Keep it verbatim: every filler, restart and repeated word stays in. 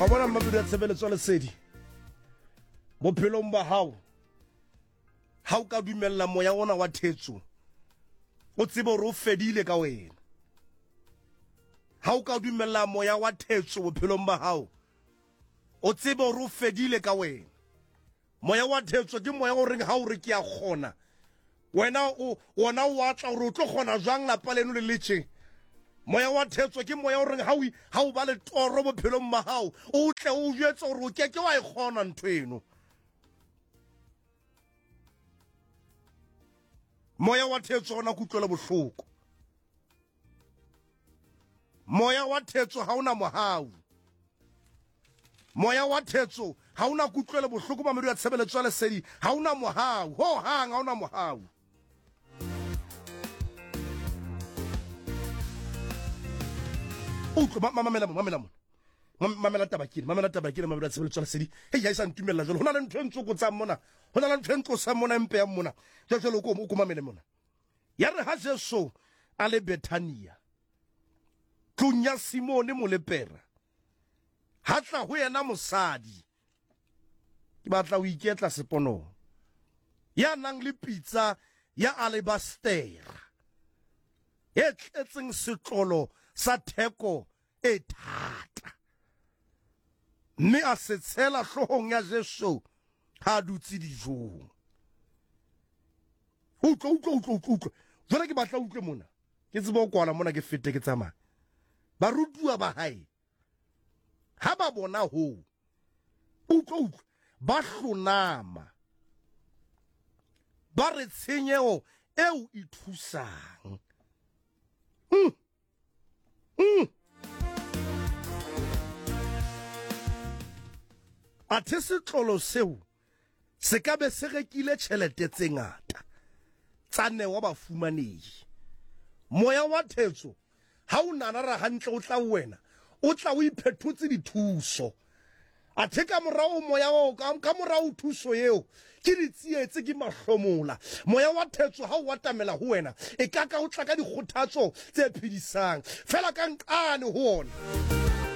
Wa bona mmamedi wa tshebeletso ya lesedi bophelong ba hao, ha o ka dumella moya ona wa thetso, o tsebe hore o fedile ka wena. Ha o ka dumella moya wa thetso bophelong ba hao, o tsebe hore o fedile ka wena. Moya wa thetso ke moya o reng ha o re ke a kgona, wena o wona o atla hore o tlo kgona jwang lapa leno le letše. Moya wa thetso ke moya o reng ha o ha o ba le toro bophelong ba hao, o tle o jwetse hore o ke ke wa e kgona ntho eno. Moya wa thetso ona kutlwelo bohloko. Moya wa thetso ha ona mohau. Moya wa thetso ha ona kutlwelo bohloko mamedi wa tshebeletso ya lesedi, ha ona mohau ho hang, ha ona mohau. Utlwe, mamela mo, mamela mo. Mamela taba ke, mamela taba ke, mamela tshebeletso ya lesedi. Hei, ha e sa ntumella jwalo. Ho na le ntho e ntsokotsang mona. Ho na le ntho e ntlosang mona, e mpeyang mona. Jwale jwale o ko o ko mamele mona. Ya re ha Jesu a le Bethania, tlung ya Simone molepera, ha tla ho yena mosadi, ke batla ho iketla seponong, ya nang le pitsa ya alebastera e tletseng setlolo sa theko e thata, mme a se tshela hloohong ya Jesu ha a dutse dijong. Utlwa, utlwa, utlwa, utlwa, utlwa. Jwale ke batla utlwe mona, ke tsebe ho kwala mona, ke fete ke tsamaya. Barutuwa ba hae ha ba bona hoo, utlwa, utlwa, ba hlonama, ba re tshenyeho eo e thusang. Mm. Mm. Athe setlolo seo se ka be se rekile tjhelete tse ngata tsa newa bafumanehi. Moya wa thetso ha o nanara hantle o tla ho wena, o tla o iphethotse dithuso. Athe ka morao moya o ka, ka morao thuso eo ke ditsietsi, ke mahlomola. Moya wa thetso ha o atamela ho wena, e ka ka o tla ka dikgothatso tse phedisang. Fela ka nqane ho ona.